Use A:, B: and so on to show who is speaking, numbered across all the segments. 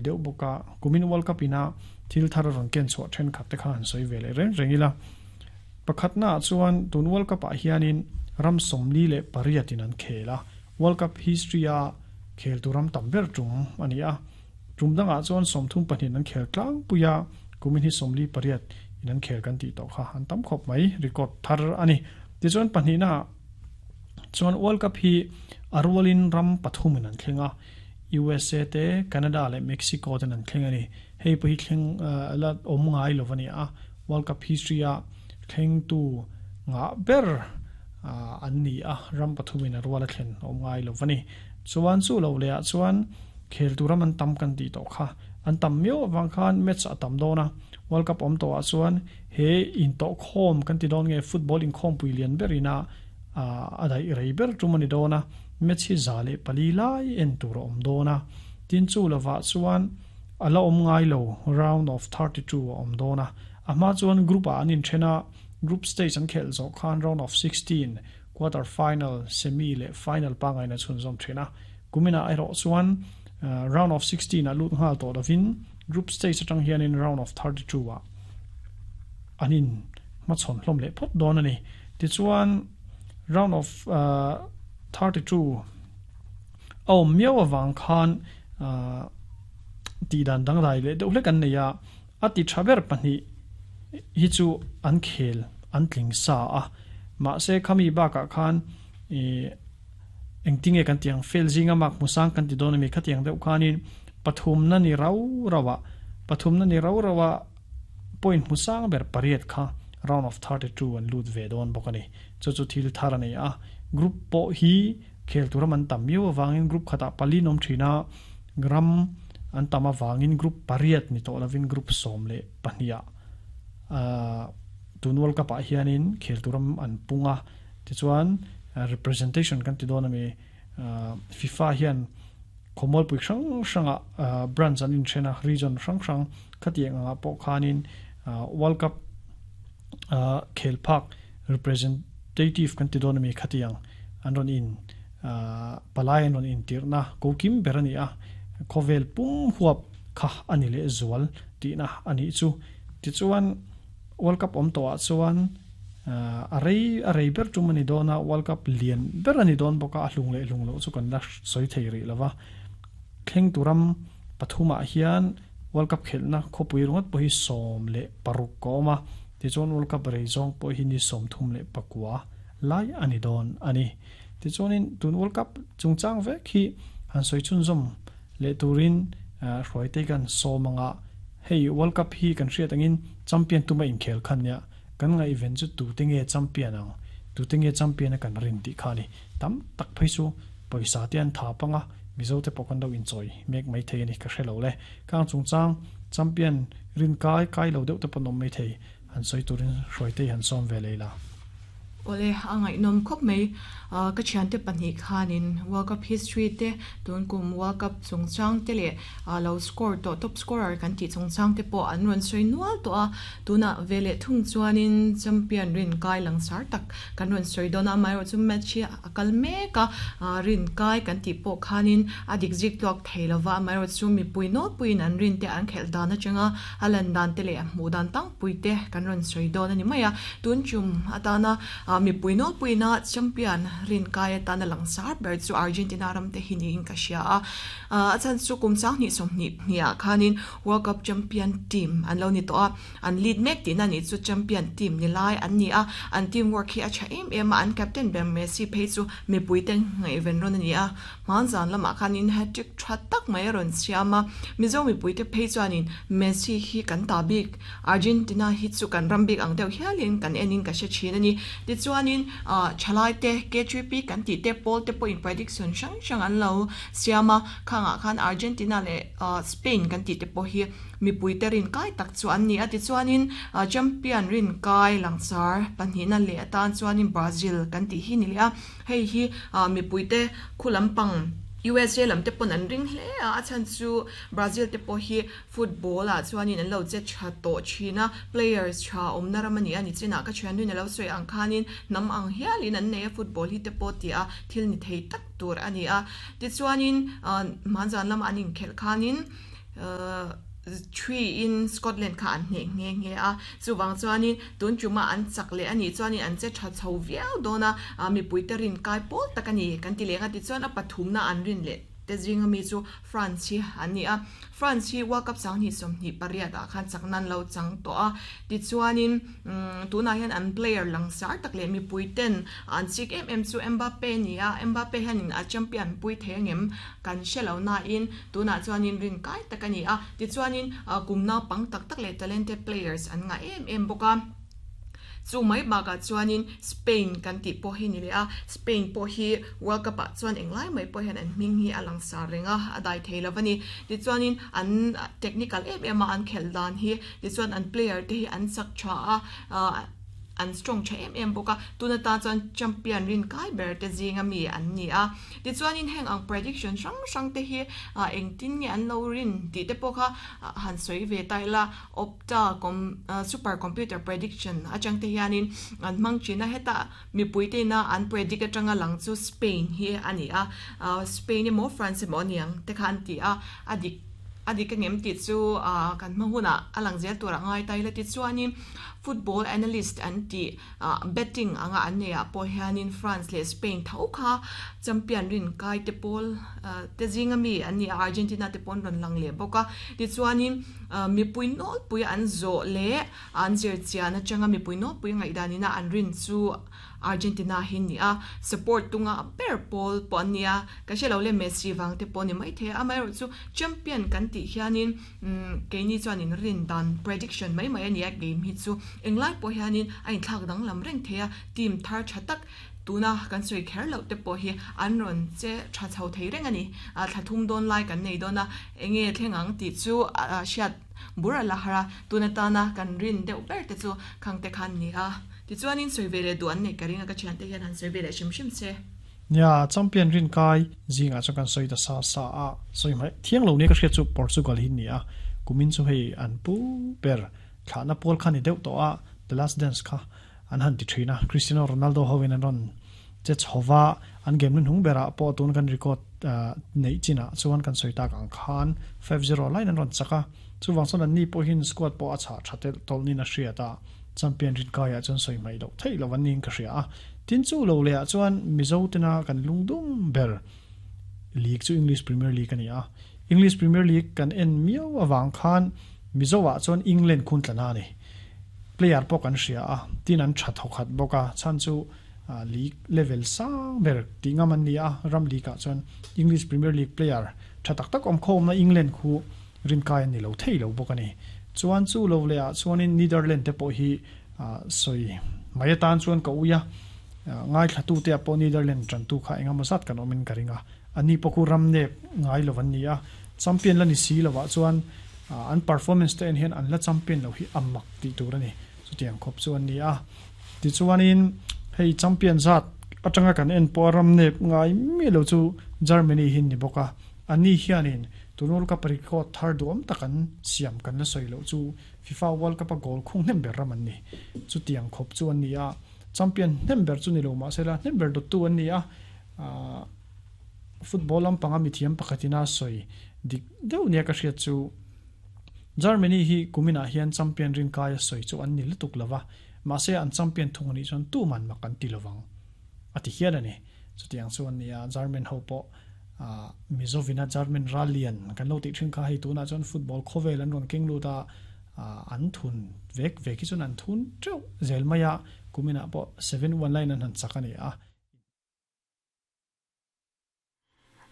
A: Deuh bawk a, kumin World Cup ina thil thar a rawn ken chhuah thenkhat te kha han sawi ve leh reng reng ila. Pakhatnaah chuan tun World Cup ah hianin ram 48 in an khel a, World Cup history a khel tu ram tam ber tum a ni a. Tum dangah chuan 32 in an khel tlangpui a, kumin hi 48 in an khel kan tih tawh kha an tam khawp mai, record thar a ni. Tichuan pahnihnaah chuan World Cup hi a rualin ram pathum in an thleng a, USA te, Canada leh Mexico ten an thleng a ni. Hei pawh hi thleng la awm ngai lo a ni a, World Cup history a thlengtu ngah ber an ni a, ram pathumin a rual a thlen awm ngai lo a ni. Chuan chu lo lehah chuan khel tur ram an tam kan tih tawh kha, an tam miau avang khan match a tam dawn a, World Cup awm tawhah chuan he intawhkhawm kan ti dawn nge football inkhawmpui lian berina a daih rei ber tum a ni dawn a, match hi 104 lai en tur a awm dawn a, tin chu lovah chuan a la awm ngai lo round of 32 a awm dawn a, a hma chuan group ah an inthen a, group stage an khelh zawh khan round of 16, quarter final, semi leh final pangaina chhunzawm thin a, kuminah erawh chuan round of 16 ah lut nghal tawh lovin group stage atang hianin round of 32 ah an in hmachhawn hlawm leh phawt dawn a ni. Tichuan round of 32 a awm miau avang khan tih dan dangdai leh deuh hlek an nei a, a ti tha ber pahnih hi chu an khel an tling sa a, mahse khami bakah khan ih engtinge kan tih ang fail zinga mark hmusang kan ti dawn a mi khatiang deuh khanin pathumna ni rau rau ah pathumna ni rau rau ah point hmusang ber pariat kha round of 32 an lut ve dawn bawk a ni. Chu chu thil thar a ni a, group pawh hi khel tur ram an tam miau avangin group khatah pali an awm thin a, ram an tam avangin group pariat ni tawh lovin group 12 ah tun World Cup ah hianin khel tur ram an pung a, tichuan representation kan ti dawn a mi FIFA hian khawmualpui hrang hrangah branch an inthen a, region hrang hrang khatiang angah pawh khanin World Cup khel phak representative kan ti dawn a mi khatiang an rawn in palai an rawn intirhna ko kim ber a ni a, khawvel pum huap kha a ni leh zual tihna a nih chu. Tichuan World Cup awm tawhah chuan a rei a rei ber tum a ni dawn a, World Cup lian ber a ni dawn bawk a, a hlung leh hlung loh chu kan la sawi thei rih lo va. Thleng tu ram pathumah hian World Cup khelhna khawpui ringawt pawh hi 16 a awm a, tichuan World Cup rei zawng pawh hi ni 39 lai a ni dawn a ni. Tichuanin tun World Cup chungchang vek hi han sawi chhunzawm leh turin Hruaitei kan sawm anga hei World Cup hi kan hriat angin champion tuma inkhel khan nia kan ngaihven chu tute nge champion ang, tute nge champion a kan rin tih kha a ni. Tam tak phei chu pawisa te an thap anga Mizo te pawh kan lo inchawi mek mai thei a ni ka hre lo le. Kang chungchang champion rin kai kai lo deuh te pawh an awm mai thei. Han sawi turin Hruaitei han sawm ve lei la.
B: Awle, a ngaihnawm khawp mai. Ka thiante pahnih khanin World Cup history te, tun kum World Cup chungchang te leh lo score tawh top scorer kan tih chungchang te pawh an rawn sawi nual tawh a. Tunah ve leh thung chuanin champion rin kai langsar tak kan rawn sawi dawn a, amaherawhchu match hi a kal mek a, rin kai kan tih pawh khanin a dik zik tluak thei lova, amaherawhchu mipui nawlpuiin an rin te an khelh dan atanga a lan dan te leh a hmuh dan tangpui te kan rawn sawi dawn a ni mai a, tun tum atana mipui nawlpuiina champion rin kai atana langsar ber chu Argentina ram te hi niin ka hria a, a chhan chu kum 2020 hniah khanin World Cup champion team an lo ni tawh a, an lead mek tihna nih chu champion team ni lai an ni a, an team work hi a tha em em a, an captain ber Messi phei chu mipui te ngaihven rawn a ni a, hmanzan lamah khanin hat-trick tha tak mai a rawn siam a, Mizo mipui te phei chuanin Messi hi kan ta bik, Argentina hi chu kan ram bik ang deuh hialin kan enin ka hre thin a ni. Tichuanin thalai te K3P kan tih te pawl te pawhin prediction hrang hrang an lo siam a, khangah khan Argentina leh Spain kan tih te pawh hi mipui te rin kai tak chu an ni a. Tichuanin champion rin kai langsar pahnihna leh atan chuanin Brazil kan tih hi ni leh a, hei hi mipui te khu lampang USA lam te pawn an ring hle a, a chhan chu Brazil te pawh hi football ah chuanin an lo che tha tawh thin a, players tha awmna ram a ni a, nichinah ka thiannuin a lo sawi ang khanin hnam ang hialin an nei a football hi te pawh tih a thil ni thei tak tur a ni a. Tichuanin hmanzan lama an inkhelh khanin. 3 in Scotland kha an hneh nghe nghe a. Chuvang chuanin tun tuma an chak leh a nih chuanin an che tha chho viau dawn a, mipuite rin kai pawl tak a ni kan ti leng a. Tichuan a pathumna an rin leh te zinga mi chu France hi an ni a. France hi World Cup 2028 ah khan chak nan lo chang tawh a. Tichuanin tunah hian an player langsar tak leh mipui ten an chik em em chu Mbappe a ni a. Mbappe hianin a champion pui thei angem kan hre lo nain tunah chuanin rin kai tak a ni a. Tichuanin kum naupang tak tak leh talented players an ngah em em bawk a. Chu mai bakah chuanin Spain kan tih pawh hi ni leh a, Spain pawh hi World Cup ah chuan englai mai pawh hian an hming hi a langsar reng a, a dai thei lo a ni. Tichuanin an technical em em a an khelh dan hi, tichuan an player te hi an chak tha a, an strong tha em em bawk a, tun atan chuan champion rin kai ber te zinga mi an ni a. Tichuanin heng ang prediction hrang hrang te hi engtin nge an lo rin tih te pawh kha han sawi ve ta ila. Opta com super computer prediction atang te hianin an hmang thin a, heta mipui te ina an predict atanga lang chu Spain hi a ni a, Spain emaw France emaw a niang te kha an ti a, a dik a dik angem tih chu kan hma hunah a lang zel turah ngai ta ila tichuanin football analyst an tih Betting anga an neih ah pawh hianin France leh Spain tho kha champion rin kai te pawl te zinga mi an ni a, Argentina te pawh an rawn lang leh bawk a. Tichuanin mipui nawlpui an zawh leh an zir chian atanga mipui nawlpui ngaihdan ina an rin chu Argentina hi ni a, support tunga ber pawl pawh an ni a, ka hre lo le Messi vang te pawh ni maithei a, amaherawhchu champion kan tih hianin Keini chuanin rin dan prediction mai mai a ni a, game hi chu englai pawh hianin a inthlak danglam reng thei a, team thar tha tak tuna kan sawi kher loh te pawh hi an rawn che tha chho thei reng a ni. Thla thum dawn lai kan nei dawn a, enge thleng ang tih chu hriat bur a la har a, tun atana kan rin deuh ber te chu khang te khan ni a. Tichuanin sawi ve leh duh an neih ka ring a, ka thiante hian han sawi ve leh hrim hrim che.
A: Nia, champion rin kai zingah chuan kan sawi ta sa sa a, sawi hmaih thiang lo nia ka hriat chu Portugal hi ni a, kumin chu hei an pu ber thlahna pawl kha ni deuh tawh a, The Last Dance kha an han ti thin a, Cristiano Ronaldo hoin an rawn che chho va, an game hnuhnung berah pawh tun kan record neih chinah chuan kan sawi tak ang khan 5-0 laiin an rawn chak a, chuvang chuan anni pawhin squad pawh a chhah tha telh tawlh niin a hriat a, champion rin kaiah chuan sawi hmaih loh theih loh an niin ka hria a. Tin chu lo leh ah chuan Mizo tena kan lungdum ber league chu English Premier League a ni a. English Premier League kan en miau avang khan Mizo ah chuan England khun tla na a ni. Player pawh kan hria a, tin an tha thawkhat bawk a, chhan chu league level sang ber tih ngam an ni a, ram league ah chuan English Premier League player tha tak tak awm khawmna England khu rinkai an ni lo thei lo bawk a ni. Chuan chu lo leh ah chuanin Netherlands te pawh hi Sawi mai atan chuan ka ui a, ngaithlatute ah pawh Netherlands tantu kha engemaw zat kan awmin ka ring a, ani pawh khu ram nek ngai lo an ni a, champion la ni si lovah chuan an performance te en hian an la champion lo hi a mak tih tur a ni, chutiang khawp chu an ni a. Tichuanin hei champion zat atanga kan en pawh a ram nek ngai miah lo chu Germany hi an ni bawk a, ani hianin tun World Cup record thar duhawm tak an siam kan la sawi loh chu FIFA World Cup a goal khung hnem ber ram an ni. Chutiang khawp chu an ni a, champion hnem ber chu ni lo mahse la hnem ber dawttu an ni a, football lampanga mithiam pakhatin a sawi dik deuh nia ka hriat chu Germany hi kuminah hian champion rinkai a sawi chu an ni lutuk lova, mahse an champion thung anih chuan tuman mak an ti lovang a ti hial a ni. Chutiang chu an ni a, German ho pawh Mizovina German ral lian kan lo tih thin kha hei tunah chuan football khawvel an rawn keng lut a, an thun vek vek hi chuan an thun teuh zel mai a, kuminah pawh 7-1 laiin an han chak a ni a.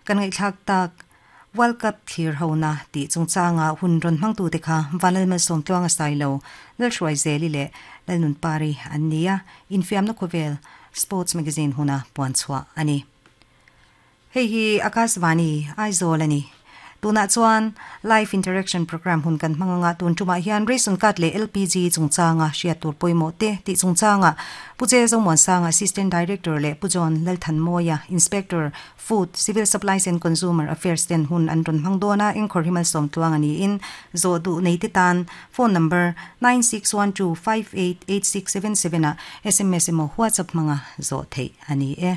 C: Kan ngaihthlak tak World Cup thlir hona tih chungchanga hun rawn hmangtute kha Vanlalmalsawm Tluanga Sailo, Lalhruaizeli leh Lalnunpari an ni a, infiamna khawvel Sports Magazine huna puanchhuah a ni. Hei hi Akashvani, Aizawl a ni. Tunah chuan Live Interaction Programme hun kan hmang anga tun tumah hian Ration Card leh LPG chungchanga hriat tur pawimawh te tih chungchanga Pu Che Zomuansanga Assistant Director leh Pu John Lalthanmawia Inspector, Food, Civil Supplies and Consumer Affairs ten hun an rawn hmang dawn a, engkhawr hi malsawm tluang a niin zawh duh neite tan phone number 9612588677 ah sms emaw WhatsApp hmanga zawh theih a ni e.